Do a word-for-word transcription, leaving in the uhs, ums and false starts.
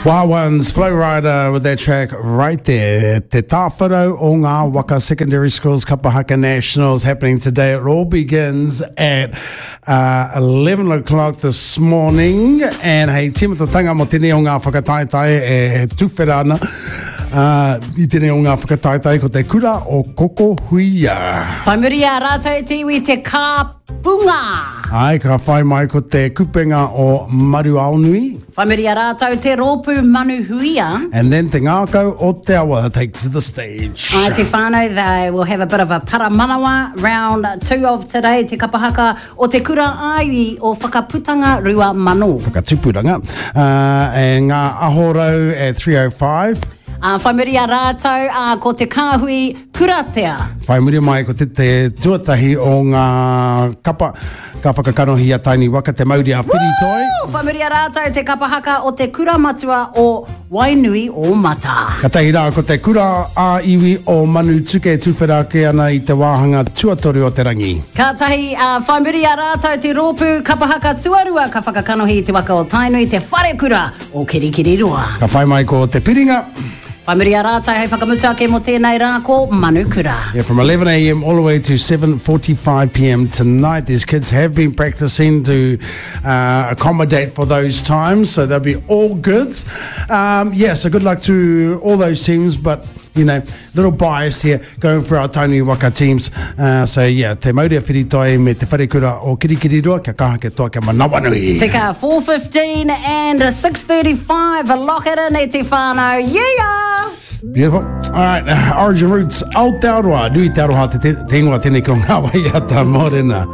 Wild Ones, Flow Rider with that track right there. Te Tāwharau o Ngā Waka Secondary Schools Kapahaka Nationals happening today. It all begins at uh, eleven o'clock this morning. And hei tīmatatanga mo tēnei o ngā whakataetae e tuwhera ana. Uh, i tēnei o ngā whakataetae ko te kura o Koko Huia. Whai muri a rātou te iwi te kāpunga. Ai, ka whai mai ko te kupenga o Maruaonui. Whai muri a rātou te rōpū Manu Huia. And then te ngākau o te awa take to the stage. Ai te whānau, they will have a bit of a paramanawa round two of today, te kapahaka o te kura āiwi o Whakaputanga Rua Mano. Whakatupuranga. Uh, e ngā ahorau at three oh five. Uh, whai muri a rātou uh, ko te kāhui kuratea. Whai muri mai ko te, te tuatahi o ngā kapa ka whakakanohi a Tainui Waka te mauri a Whiritoi. Whai muri a rātou te kapahaka o te kura matua o Wainui o Mata. Ka tahi rā ko te kura a iwi o Manutuke tuwhera ake ana i te wāhanga tuatoru o te rangi. Ka tahi, uh, whai muri a rātou te rōpū kapahaka tuarua ka whakakanohi te waka o Tainui te wharekura o Kirikiriroa. Ka whai mai ko te piringa. Whai muri a rātou hei whakamutu ake mo tēnei rā ko Manukura. Yeah, from eleven a m all the way to seven forty-five p m tonight. These kids have been practicing to uh, accommodate for those times, so they'll be all good. Um, yeah, so good luck to all those teams, but you know, little bias here going for our Tainui Waka teams. Uh, so yeah, te mauri a Whiritoi me te wharekura o Kirikiriroa, kia kaha ke toa kia manawanui. Tika, four fifteen and six thirty-five. Lock it in e te whānau. Yeah! Beautiful. All right, uh, Origin Roots, Aotearoa, nui te aroha te, te, te ingoa tēnei ko ngā waiata mōrena.